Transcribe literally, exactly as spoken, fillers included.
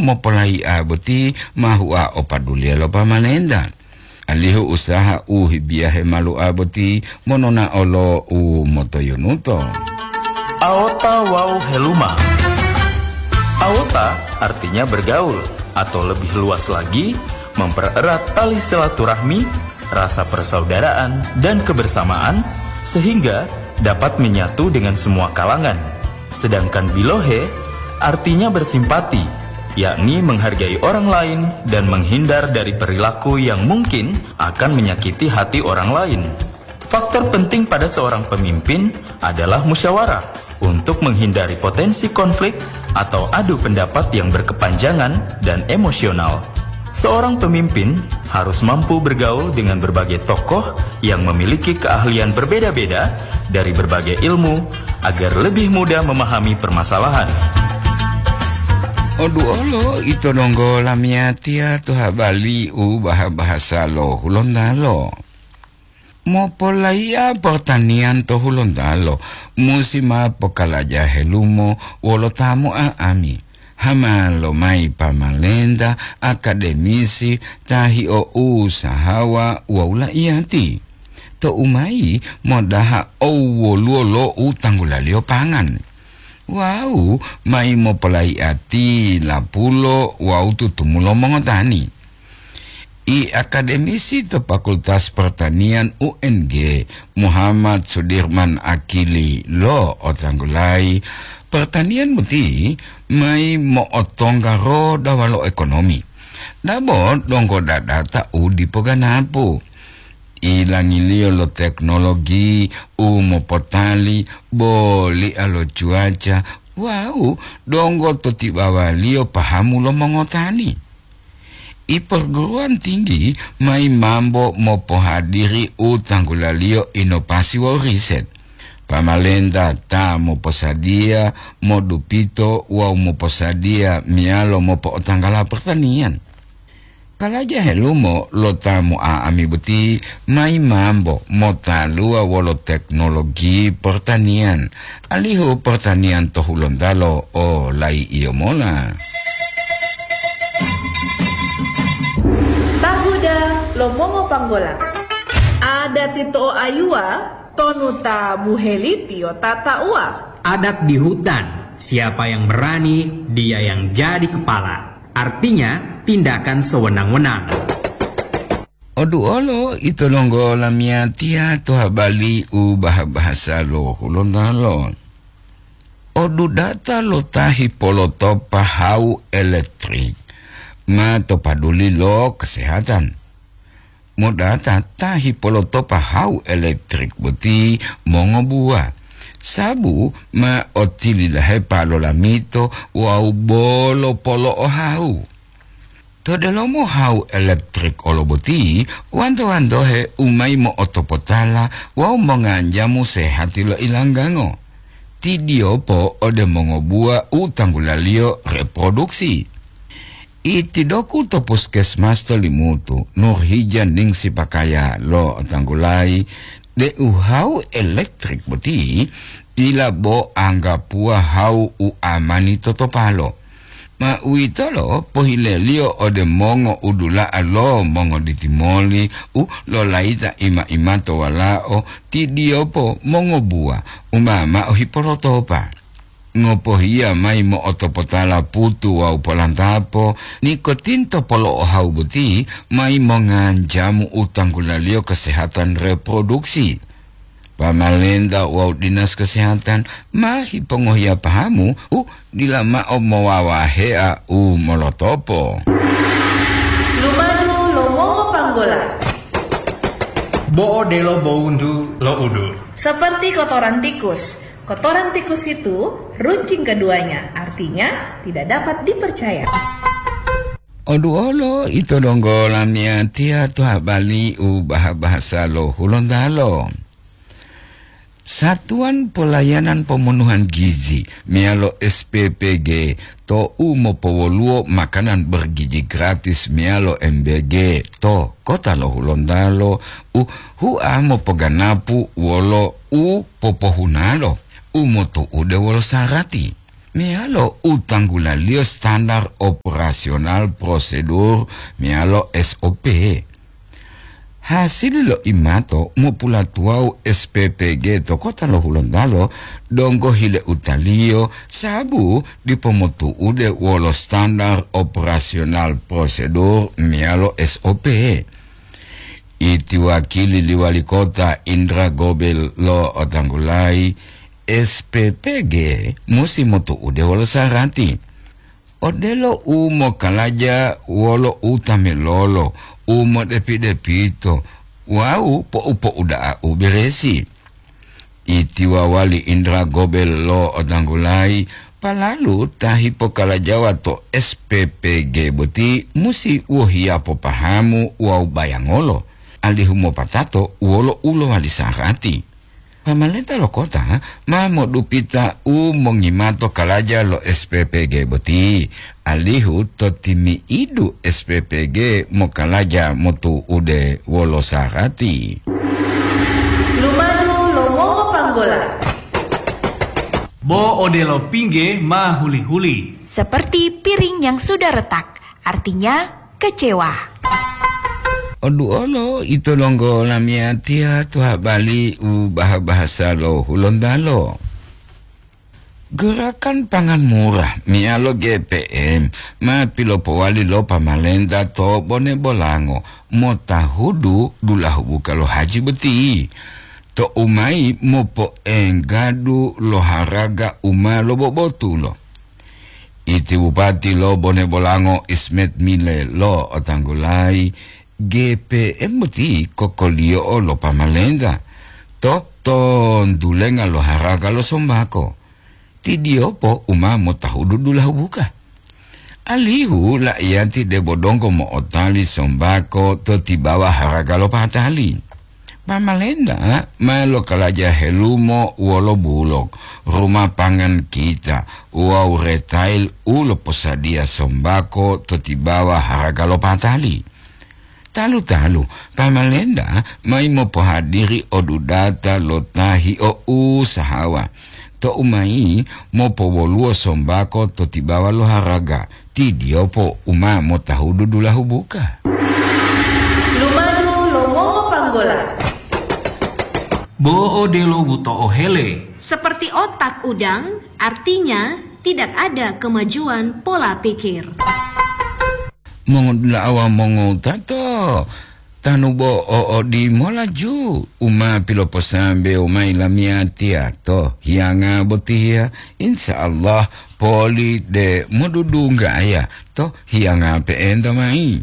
mopolai'a boti ma hua o paduliya lo pamalenta, alihu usaha u hibiyahe malu'a boti monona'o lo u motoyunuto. Aota wawu heluma. Aota artinya bergaul, atau lebih luas lagi, mempererat tali silaturahmi, rasa persaudaraan, dan kebersamaan, sehingga dapat menyatu dengan semua kalangan. Sedangkan bilohe artinya bersimpati, yakni menghargai orang lain dan menghindar dari perilaku yang mungkin akan menyakiti hati orang lain. Faktor penting pada seorang pemimpin adalah musyawarah untuk menghindari potensi konflik atau adu pendapat yang berkepanjangan dan emosional. Seorang pemimpin harus mampu bergaul dengan berbagai tokoh yang memiliki keahlian berbeda-beda dari berbagai ilmu agar lebih mudah memahami permasalahan. Oduolo ito donggo lamiyatiya to habali u baha-bahasa lo Hulontalo. Mopolaiya pertanian to Hulontalo musi ma pokalaja helumo wolo ta mo'a'ami, hama lomayi pamalenta, akademisi, ta hio'usahawa wawu la'iyati. To'u mayi modaha owoluwo lo u tanggulaliyo pangan. Wawu mayi mopolaiya ti lapulo wawu tutumulo mongotani. I akademisi to Fakultas Pertanian U N G, Muhammad Sudirman Akili lo otanggulayi, pertanian boti mayi mo'otongga roda walo ekonomi. Dabo donggo dadata u dipo ganapu. Ilangiliyo lo teknologi u mopotali, boli'a lo cuaca, wawu donggo to tibawaliyo pahamu lo mongotani. I perguruan tinggi mayi mambo mopohadiri u tanggulaliyo inovasi wawu riset. Pamalenta ta moposadiya, modupito wawu moposadiya meyalo mopo'otanggala pertanian. Kalaja helumo lo ta mo'a'ami boti mayi mambo motaluwa wolo teknologi pertanian, alihu pertanian to Hulontalo o lai'iyo mola. Tahuda lo mongopanggola. Adat ito o ayuwa, tonu ta buheli tiyo tata'uwa. Adat di hutan, siapa yang berani, dia yang jadi kepala. Artinya, tindakan sewenang-wenang. Oduolo ito donggo lamiyatiya to habali u baha-bahasa lo Hulontalo. Odudata lo ta hipolotopa hawu elektrik ma to paduli lo kesehatan. Modata ta hipolotopa hawu elektrik boti mongobuwa, sabu ma otilidahepa lolamito wawu bolo polo'ohawu. To delomo hawu elektrik olo boti, wanto-wantohe u mayi mo'otopotala wawu monganjamu sehati lo ilanggango. Tidiyopo ode mongobuwa u tanggulaliyo reproduksi. Itidoku to puskesmas to Limutu, Nurhija ningsi pakaya lo tanggulayi deu hawu elektrik boti dila bo anggapuwa hawu u amani totopalo. Ma uwitolo pohileliyo ode mongo udula'a lo mongoditimoli u lolayita ima-imato walao, tidiyopo mongobuwa u ma mao hipolotopa. Ngopohiya mayi mo'otopotala putu wawu polantapo, nikotinto polo'ohawu boti mayi monganjamu u tanggulaliyo kesehatan reproduksi. Pamalenta wawu dinas kesehatan ma hipongohiya pahamu u dila mao mowawahea u molotopo. Lumadu lo mongopanggola. Bo'o delo bowuntu lo udur. Seperti kotoran tikus. Kotoran tikus itu runcing keduanya, artinya tidak dapat dipercaya. Oduolo ito donggo lamiyatiya to habali u baha-bahasa lo Hulontalo. Satuan Pelayanan Pemenuhan Gizi meyalo S P P G to u mopowoluwo makanan bergizi gratis meyalo M B G to kota lo Hulontalo u hua mopoganapu wolo u popohunalo u motu'ude wolo sarati. meyalo u tanggulaliyo standar operasional prosedur meyalo S O P. Hasili lo imato mopulatuwawu S P P G to kota lo Hulontalo donggo hile utaliyo sabu dipo motu'ude wolo standar operasional prosedur meyalo S O P. Iti wakili li wali kota Indra Gobel lo otanggulayi, S P P G musi motu'ude wolo sarati. Odelo u mokalaja wolo u tamilolo, u modepi-depito, wawu po'u-po'uda'a u beresi. Iti wawali Indra Gobel lo otanggulayi, palalu ta hipokalajawa to S P P G boti musi wohiya popahamu wawu bayangolo, alihu mopatato wolo u lowali sarati. Pamalenta lo kota ma modupita u mongimato kalaja lo S P P G boti, alihu to timi'idu S P P G mokalaja motu'ude wolo sarati. Lumadu lo mongopanggola. Bo odelo pingge ma huli-huli. Seperti piring yang sudah retak, artinya kecewa. Oduolo ito donggo lamiyatiya to habali u baha-bahasa lo Hulontalo. Gerakan Pangan Murah meyalo G P M ma pilopowali lo pamalenta to Bone Bolango motahudu dulahu buka lo haji boti. To umayi mopoenggadu lo haraga u ma lobobotulo. Iti Bupati lo Bone Bolango Ismet Mile lo otanggulayi, G P M boti kokoliyo'o lo pamalenta to tontulenga lo haraga lo sombako. Ti diyopo u ma motahudu dulahu buka. Alihu la'iyati debo donggo mo'otali sombako to tibawa haraga lo patali. Pamalenta ma lokalaja helumo wolo bulok, ruma pangan kita wawu retail u loposadiya sombako to tibawa haraga lo patali. Talu-talu, pamalenta mayi mopohadiri odudata lo ta hio'usahawa. To umayi mopowoluwo sombako to tibawa lo haraga, ti diyopo u ma motahudu dulahu buka. Lumadu lo mongopanggola. Bo odelo wuto'o hele. Seperti otak udang, artinya tidak ada kemajuan pola pikir. Mongodula'a wawu mongowutato, tanu bo o odimola ju u ma piloposambewo mayi lamiyatiya to hiyanga botiya, insya Allah poli de modudunggaya to hiyanga pe'enta mayi.